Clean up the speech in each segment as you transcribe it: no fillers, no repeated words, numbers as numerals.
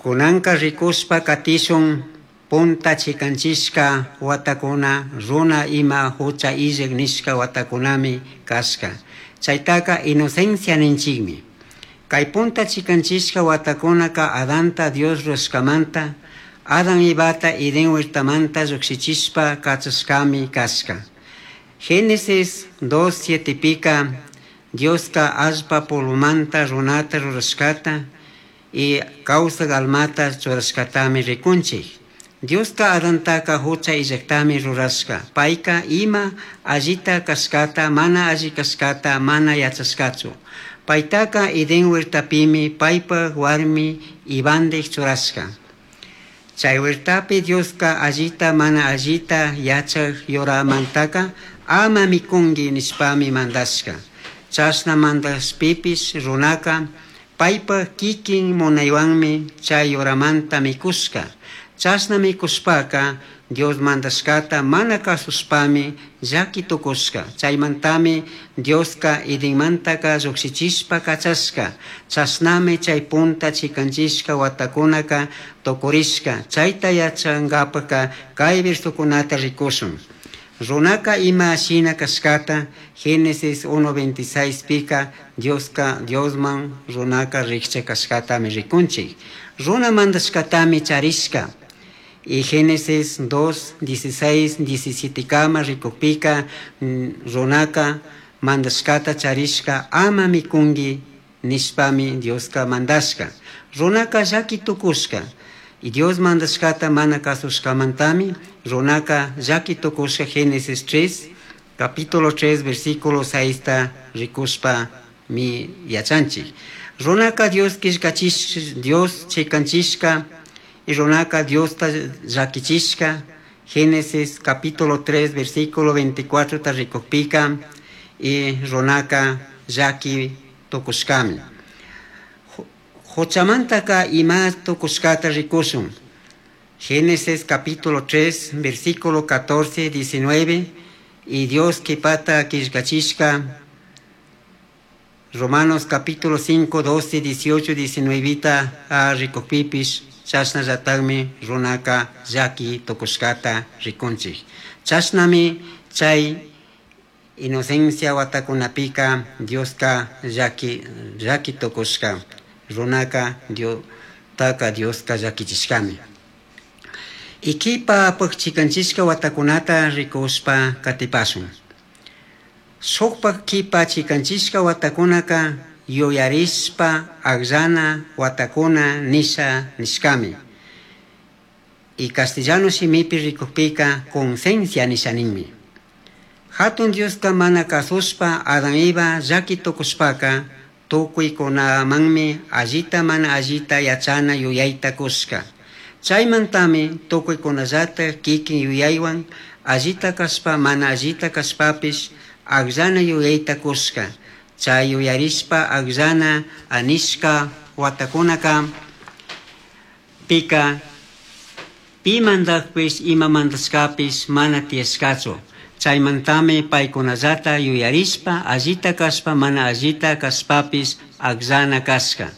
Cunanca ricushpa catishun punta chicanchishca huatacuna runa ima jucha illaj nishca huatacunami cashca. Chaitaca inocencia ninchikmi. Kay punta chicanchishca huatacunaca Adanta Dios rurashcamanta, Adán Evata Edén huertamanta llujshichishpa cachashcami cashca. Génesis 2.7pika Diosca allpa polvomanta runata rurashcata y causaj almata churashcatami ricunchij. Diosca Adantaca jucha illajtami rurashca. Paica ima allita cashcata, mana alli cashcata mana yachashcachu. Paitaca Edén huertapimi paipaj huarmi Evandij churashca. Chay huertapi Diosca allita mana allita yachaj yuramantaca ama micungui nishpami mandashca. Chashna mandashpipish runaca paipaj kikin munaihuanmi chay yuramanta micushca. Chashna micushpaca Dios mandashcata mana cazushpami llaqui tucushca. Chaimantami Diosca Edenmantaca llujshichishpa cachashca. Chashnami chay punta chicanchishca huatacunaca tucurishca. Chaita yachangapajca cai versocunata ricushun. Runaca ima shina cashcata Génesis 1.26 pica Diosca Diosman runaca rijcha cashcatami ricunchij. Runa mandashcatami charishca. Y Génesis 2, 16, 17 kama rikukpika runaka mandashcata charishca ama mikungui nishpami Dioska mandashca. Runaka llaqui tucushca. Y Dios mandashcata mana casushcamantami runaka llaqui tucushca Génesis 3, capítulo 3, versículo 6 ta ricushpa mi yachanchik. Runaka Dios quillcachish, Dios chicanchishca y runaka Diosta llaquichishca. Génesis capítulo 3, versículo 24 ta rikukpika y runaka llaqui tucushcami. Juchamantaka ima tucushcata ricushun. Génesis capítulo 3, versículo 14, 19 y Dios quipata quillcachishca. Romanos capítulo 5, 12, 18, 19 ta rikukpipish chashnallatakmi runaka llaqui tucushcata ricunchik. Chashnami chay inocencia watakunapika Dioska llaqui llaqui tucushca. Runaka Diostaka Dioska llaquichishcami. Ikipa chikanchishka watakunata rikushpa katipashun. Shukpak kipa chikanchishka watakunaka yuyarishpa akllana watakuna nisha nishkami. Y castellano shimipi rikukpika conciencia nisha ninmi. Hatun Dioska mana kasushpa Adán Eva llaqui tukushpaka tukuykunamanmi allita mana allita yachana yuyayta kushka. Chaymantami tukuykunallata kikin yuyaywan allita kashpa mana allita kashpapish akllana yuyayta kushka. Chay yuyarishpa akllana anishka watakunaka pika pi mandakpish ima mandashkapish mana tiyashkachu. Chaymantami paykunallata yuyarishpa allita kashpa mana allita kashpapish akllana kashka.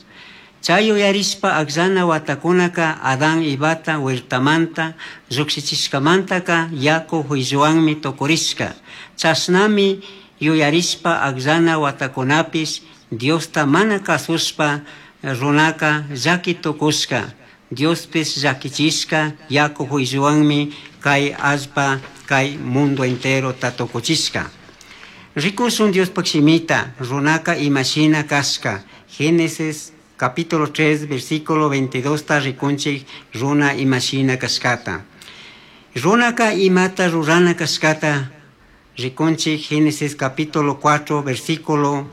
Chay yuyarishpa akllana watakunaka Adán Evata huertamanta llukshichishkamantaka yaku juilluwanmi tukurishka. Chashnami yuyarishpa akllana watakunapish Diosta mana kasushpa runaka llaqui tukushka. Diospish llakichishka yaku juilluwanmi kay allpa kay mundo entero tukuchishka. Rikushun Diospaj shimita runaka imashina kashka. Génesis capítulo 3, versículo 22 ta rikunchik runa imashina kashkata. Runaka imata rurana kashkata rikunchik Génesis capítulo 4, versículo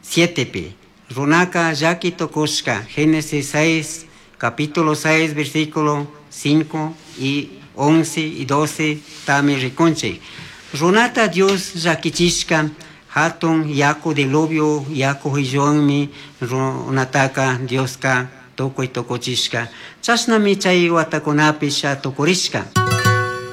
7 pi. Runaka llaqui tukushka Génesis 6, capítulo 6, versículo 5 y 11 y 12 tami rikunchik. Runata Dios llakichishka hatun yaku diluvio yaku juilluwanmi runataka Dioska tukuy tukuchishka. Chashnami chay watakunapish tukurishka.